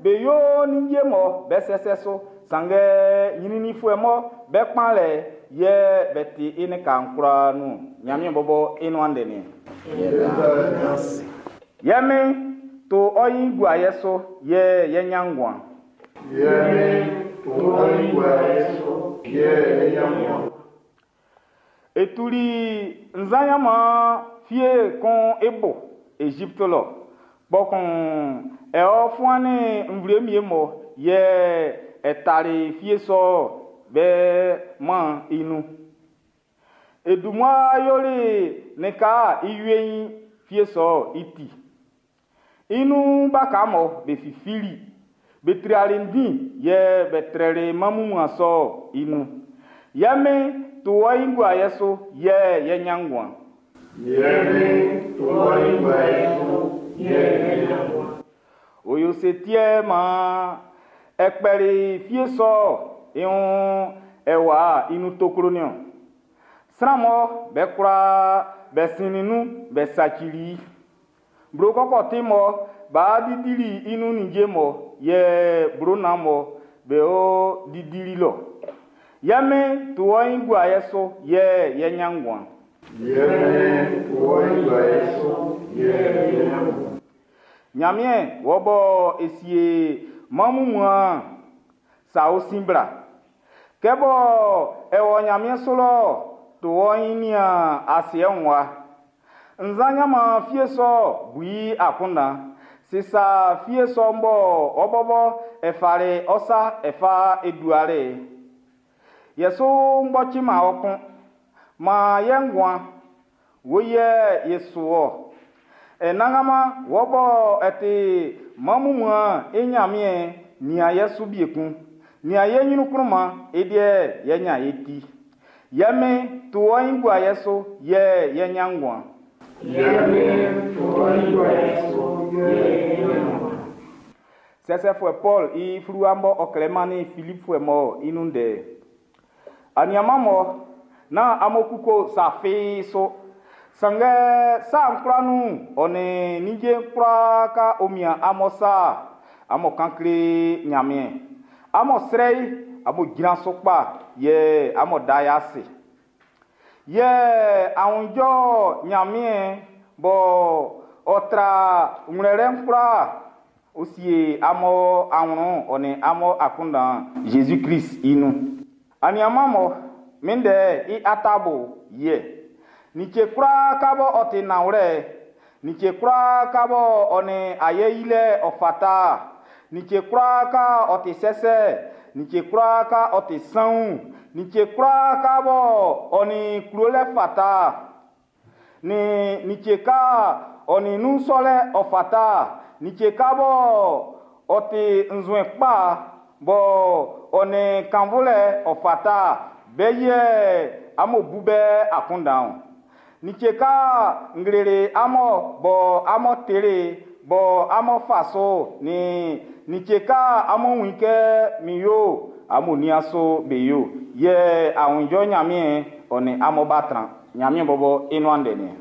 be yo ninnge mɔ be sɛsɛ su, sanngɛ ɲrɛnnɛnfuɛ mɔ be kpanlɛ yɛ be ti i lika'n kwlaa nun. Ɲanmiɛn bɔbɔ i nuan ndɛ'n niɔn. Yɛ min, to ɔ ɲin gua ye su, yɛ yɛ ɲan nguan. Yɛ min, to ɔ ɲin gua ye su, yɛ yɛ ɲan nguan. E tuli nzan ɲanman fie kun i bo Ezipti lɔ, kpɔkun e ɔ fuannin nvle wie mɔ yɛ e tali fie sɔ'n be mma'n i nun. E dun mmua yoli lika'n i weiin fie sɔ'n i ti. I nun waka mɔ be fifili, be trali ndin yɛ be trɛli mma wunmuan sɔ'n i nun. Yɛ min, to ɔ ɲin gua ye su, yɛ yɛ ɲan nguan. Yɛ min, to ɔ ɲin gua ye su, yɛ yɛ ɲan nguan. Ɔ yo sɛ ti yɛ maan e kpɛli fie sɔ'n i wun awa'n i nun toklo'n niɔn? Sran mɔ be kwlaa be sinnin nun be sacili i. Blo kɔkɔti mɔ b'a didili i nun ninnge mɔ yɛ blo nnan mɔ be o didili lɔ. Yɛ min, to ɔ ɲin gua ye su, yɛ yɛ ɲan nguan. Yɛ min, to ɔ ɲin gua ye su, yɛ yɛ ɲan nguan. Ɲanmiɛn, wɔ bɔ e sie mɛn wunmuan'n, sa ɔ sin bla. Kɛ bɔ e wɔ ɲanmiɛn su lɔ, to ɔ ɲin nian asiɛ'n wa. Nzan ɲanman fie sɔ'n bu i akunndan. Sisa fie sɔ'n bɔ ɔ bɔbɔ e fali ɔ sa e fa e duali'n. Yɛ su kpɔciman ɔ kun. Maan yɛ nguan, wo yɛ ye su ɔ. E nanganman wɔ bɔ e ti mɛn wunmuan'n i Ɲanmiɛn nian ye su bie kun. Nian ye ɲrun kplɔman, i deɛ yɛ ɲan ye ti. Yɛ min, to ɔ ɲin gua ye su, yɛ yɛ ɲan nguan. Yɛ min, to ɔ ɲin gua ye su, yɛ yɛ ɲan nguan. Sɛsɛfuɛ Paul i fluwa mɔ ɔ klɛ mannin Filipfuɛ mɔ i nun ndɛ. Aniaman mɔ nán amun kuko sa fi su. Sanngɛ sa'n kwlaa nun ɔ nin ninnge kwlaa ka o mian amun sa amun kan kle Ɲanmiɛn. Amun srɛ i, amun jran su kpa yɛ amun da i ase. Yɛ aunjɔ Ɲanmiɛn bɔ ɔ tra ngwlɛlɛ'n kwlaa ɔ sie amun awlɛn'n ɔ nin amun akunndan'n Jésus Christ i nun. Aniaman mɔ min ndɛ i atabo yɛ. Like kwlaa ka bɔ ɔ ti nanwlɛ, like kwlaa ka bɔ ɔ nin ayɛ yilɛ ɔ fata, like kwlaa ka ɔ ti sɛsɛ, like kwlaa ka ɔ ti sanwun, like kwlaa ka bɔ ɔ nin klolɛ fata, nin like ka ɔ nin nun sɔlɛ ɔ fata, like ka bɔ ɔ ti nzue kpa bɔ ɔ nin kannvulɛ ɔ fata, be yɛ amun bu be akunndan. Like ka nglele amun bɔ amun tele bɔ amun fa so nin like ka amun wun kɛ min yo amun nian so be yo yɛ aunjɔ Ɲanmiɛn ɔ nin amun ba tran Ɲanmiɛn bɔbɔ i nuan ndɛ niɛn.